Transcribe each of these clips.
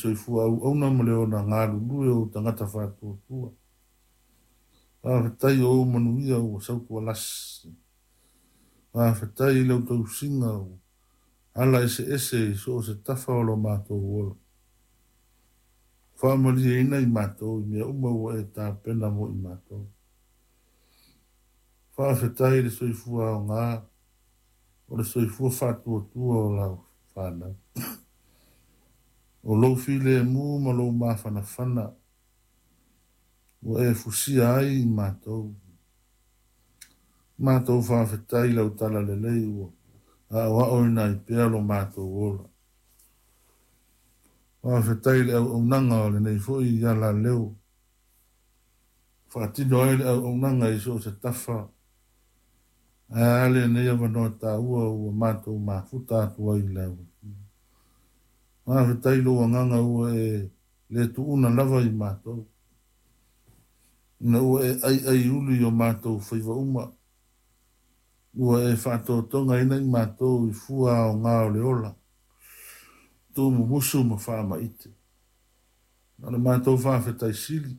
Soifua auauna ma le ola galulue o ou tagata faatuatua. Faafetai o ou manuia ua sautualasi. Faafetai i lau tausiga ua ala eseese i so o se tafa o lo matou ola. Faamalieina i matou i mea uma ua e tapena mo i matou. Faafetai i le soifua aoga o le soifua faatuatua o lau fanau. O lou filemu ma lou mafanafana ua e fusia ai i matou. Matou faafetai i lau talalelei ua aoaoina ai pea lo matou ola. Faafetai i le auaunaga o lenei foi alaleo. Faatino ai le auaunaga i so o se tafa. Ae a lenei avanoa taua ua matou mafuta atu ai i lau Afio. Faafetai i lou agaga ua e le tuuna lava i matou. Ina ua e aiaiuli i o matou faiva uma, ua e faatotogaina i matou i fua aoga o le ola, tuumumusu ma faamaite. O le matou faafetai sili,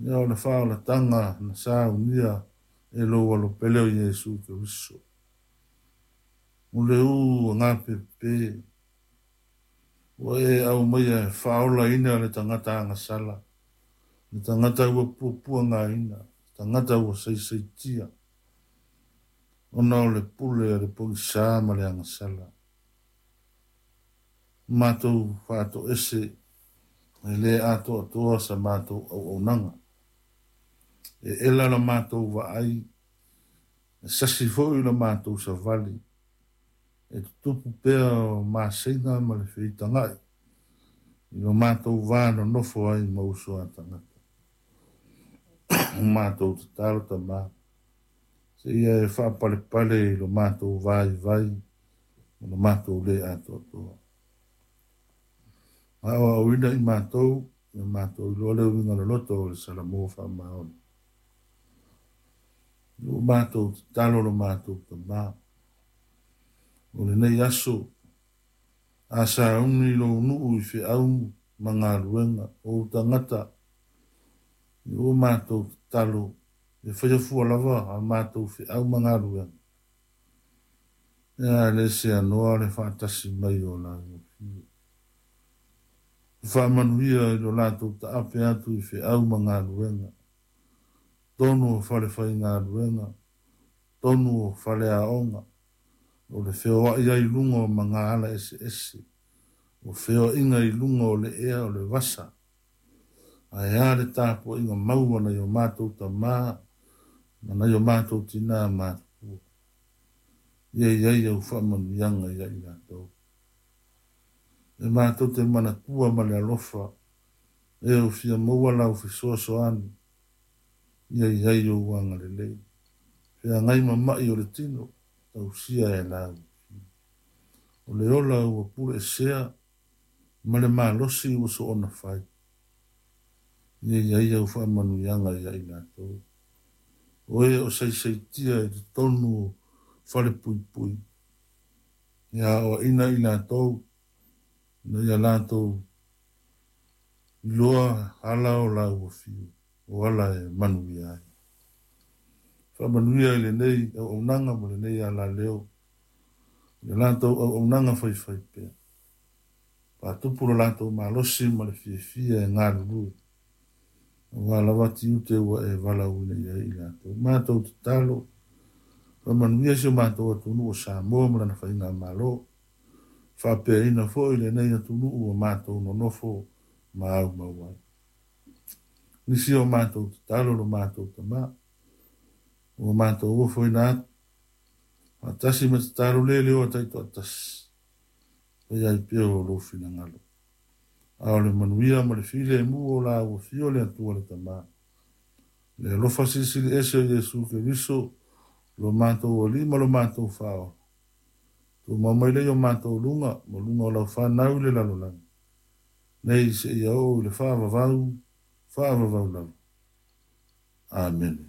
ia o le faaolataga na saunia e lou Alo pele o Iesu Keriso. O le ū agapepe, ua e aumaia e faaolaina le tagata agasala, le tagata ua puapuagaina, le tagata ua saisaitia, ona o le pule a le pogisa ma le agasala. Matou faatoese e le atoatoa sa matou auaunaga. E ela la matou vaai, e sasi foi la matou savali, e tutupu pea o maseiga ma le feitagai i lo matou va nonofo ai ma uso a tagata. O matou tatalo Tama, seia e faapalepale i lo matou vaivai ma lo matou le atoatoa. Aoaoina i matou, ia matou iloa le uiga loloto o le Salamo faamaoni. Ua matou tatalo lo matou Tama. O lenei aso, a sauni lou nuu i feau ma galuega, o ou tagata, ua matou tatalo, e faia fua lava a matou feau ma galuega. Ia le seanoa le faatasi mai o lau Afio. Faamanuia i lo latou taape atu i feau ma galuega, tonu o fale faigaluega, tonu o fale aoga, o le feoai ai i luga o magaala eseese, o feoaiga i luga o le ea o le vasa, ae a le tapuaiga mau a nai o matou tama ma nai o matou tina matutua. Ia i ai au faamanuiaga ia i latou. E matou te manatua ma le alofa, e o fia maua lau fesoasoani, ia i ai ou agalelei. Feagai ma mai o le tino, tausia e lau. O le ola ua puleesea ma le malosi ua soona fai. Ia i ai au faamanuiaga ia i latou. O e o saisaitia i totonu o fale puipui. Ia aoaina i latou, ina ia latou iloa ala o lau afio, o ala e manuia ai. Faamanuia i lenei auaunaga ma lenei alaleo, i le latou auaunaga faifaipea. Faatupu lo latou malosi ma le fiafia e galulue, aua lava tiute ua e valaauina i ai i latou. Matou tatalo, faamanuia si o matou atunuu o Samoa ma lana faigamalo, faapeaina foi lenei atunuu ua matou nonofo ma aumau ai. Nisi o matou tatalo lo matou Tama, ua matou ofoina atu, faatasi ma tatalo le leo a taitoatasi, faia ai pea o lou finagalo. A o le manuia ma le filemu o lau Afio le Atua le Tama, le alofa silisili ese o Iesu Keriso, lo matou Alii ma lo matou Faaola, tumau mai lea i o matou luga ma luga o lau fanau i le lalolagi, nei seia oo i le faavavau, faavavau lava. Amene.